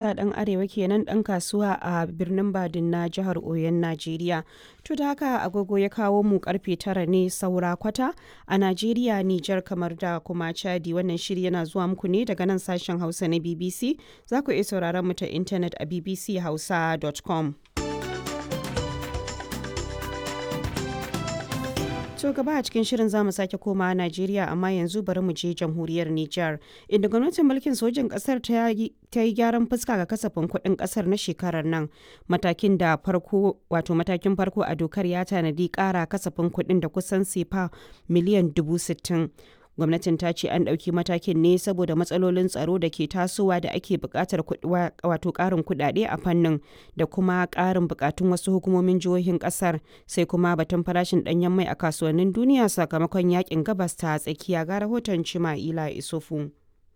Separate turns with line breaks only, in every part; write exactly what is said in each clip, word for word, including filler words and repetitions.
Ɗan Arewa kenan ɗan kasuwa a birnin Badin na jihar Oyon Najeriya. To da haka agogo ya kawo mu karfe tara ne saura kwata a Najeriya, Nijar kamar da kuma Chadi. Wannan shiri yana zuwa muku ne daga nan sashen Hausa na B B C. Za ku iya sauraron mu ta intanet a b b c hausa dot com. To gaba a cikin shirin zamu sake komawa Najeriya, amma yanzu bari mu je jamhuriyar Nijar, inda gwamnatin mulkin sojin kasar ta yi gyaran fuska ga kasafin kuɗin kasar na shekarar nan. Matakin da farko wato matakin farko a dokar ya tanadi ƙara kasafin kuɗin da kusan sefa miliyan dubu sittin. Gwamnatin ta ce an ɗauki matakin ne saboda matsalolin tsaro da ke tasowa da ake buƙatar wato ƙarin kuɗaɗe a fannin, da kuma ƙarin buƙatun wasu hukumomin jihohin ƙasar, sai kuma batun farashin ɗanyen mai a kasuwannin duniya sakamakon yakin Gabas ta Tsakiya. Ga rahoton Cima'ila Isufu.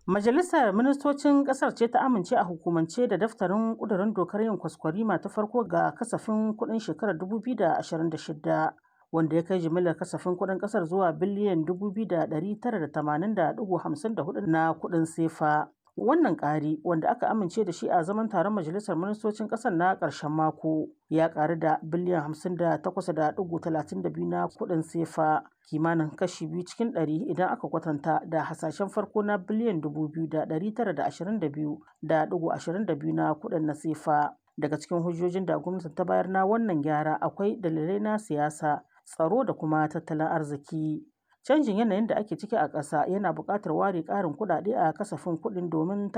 Majalisar Ministocin Ƙasar ce ta amince a hukumance da daftarin ƙudurin dokar yin kwaskwarima ta farko ga kasafin kuɗin shekarar dubu biyu da ashirin da shida, wanda ya kai jimillar kasafin kuɗin ƙasar zuwa biliyan dubu biyu da ɗari tara da tamanin da ɗigo hamsin da huɗu na kuɗin sefa. Wannan ƙari, wanda aka amince da shi a zaman taron Majalisar Ministocin ƙasar na ƙarshen mako, ya ƙaru da biliyan hamsin da takwas da ɗigo talatin da biyu na kuɗin sefa, kimanin kashi biyu cikin ɗari idan aka kwatanta da hasashen farko na biliyan dubu biyu da ɗari tara da ashirin da biyu da ɗigo ashirin da biyu na kuɗin na sefa. Daga cikin hujjojin da gwamnati ta bayar na wannan gyara akwai dalilai na siyasa, tsaro da kuma tattalin arziki. Canjin yanayin da ake ciki a ƙasa yana buƙatar ware ƙarin kuɗaɗe a kasafin kuɗin domin